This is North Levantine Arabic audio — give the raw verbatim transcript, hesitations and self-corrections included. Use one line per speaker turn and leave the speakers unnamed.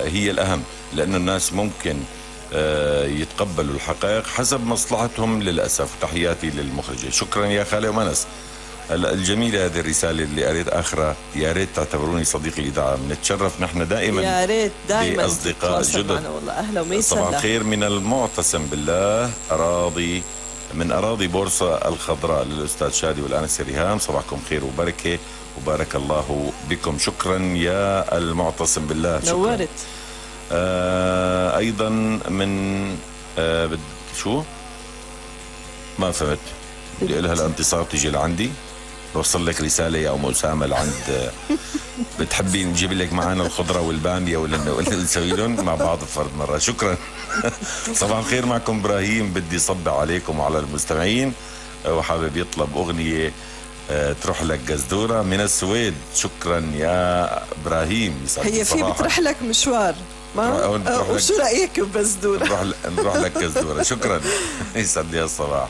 هي الأهم، لأنه الناس ممكن يتقبلوا الحقائق حسب مصلحتهم للأسف. تحياتي للمخرجة. شكرا يا خالي ومنس. الجميلة هذه الرسالة اللي قريت آخرها، يا ريت تعتبروني صديق الإذاعة، بنتشرف نحن دائما
يا ريت دائما
بأصدقاء جدد.
والله أهلا وميسا.
صباح الخير من المعتصم بالله، أراضي من أراضي بورصة الخضراء، للأستاذ شادي والأنسة ريهام. صباحكم خير وبركة وبارك الله بكم. شكرا يا المعتصم بالله. شكرا.
نورت.
آه أيضا من آه بد شو ما فهمت، بدي أقولها الانتصار تيجي لعندي، بوصل لك رسالة يا أم أسامة لعند بتحبي نجيب لك معنا الخضرة والبامية ولا ولا نسوي لهم مع بعض فرد مرة. شكرا. صباح الخير، معكم إبراهيم، بدي صب عليكم وعلى المستمعين، وحابب يطلب أغنية تروح لك قزدورة من السويد. شكرا يا إبراهيم.
هي في بتروح لك مشوار ما؟ وشو رأيك بقزدورة؟
نروح نروح لك قزدورة. شكرا. يسعد لي الصباح.